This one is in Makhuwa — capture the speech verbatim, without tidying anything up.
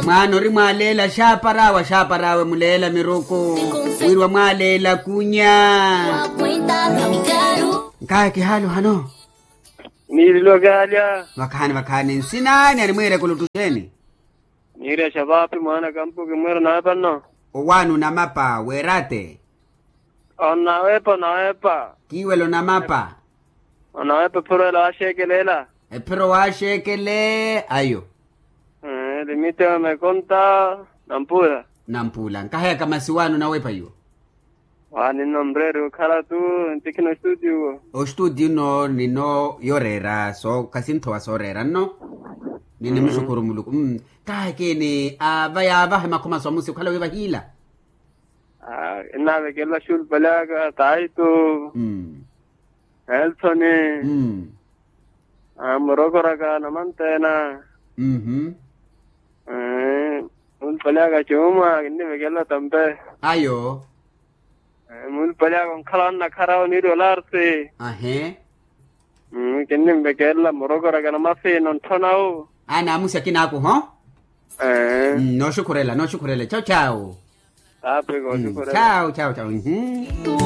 Mwaana ori mwaaleela xaaparaawe xaaparaawe muleela miruku, wirwa mwaaleela kunya. Nkaaye kihaali ohano. Niirilo kaalya. Vakhaani vakhaani nsinaani animwiireke oluttuxeeni? Niirya xavaapi mwaana kampu kimwiira onawepa nno. Owaani onamapa weeraate? Onawepa onawepa. Kiiwela onamapa. Onawepa ephiro ela waaxeekeleela. Ephiro waaxeekele ayo. Limite wa mekonta. Nampuula. Nampuula nkaheyaka masi waani onawepa iwo. Waani nno mreeri okhala tu. Ntikhina ostuutiyo. Ostuutiyo nno nino yoreera so khasinthowa sooreera nno. Ninimuxukuru muluku. Kahakeeni ava yaavahe makhuma swamusi okhala wi vahiila. Nnaavekelela xulupali aka taitu. Nelsoni. Murokoraka namanteena. Muulupali aka cuuma kinnivekelela tampe. Ayo. Muulupali aka onkhala wannakhara oniiri olarsi. Ahe. Kinnivekelela murokoraka namasiina ontthona wu. Anaamusi akinaaku ho. Nooxukhurela nooxukhurela chawu chawu. Chawu chawu chawu.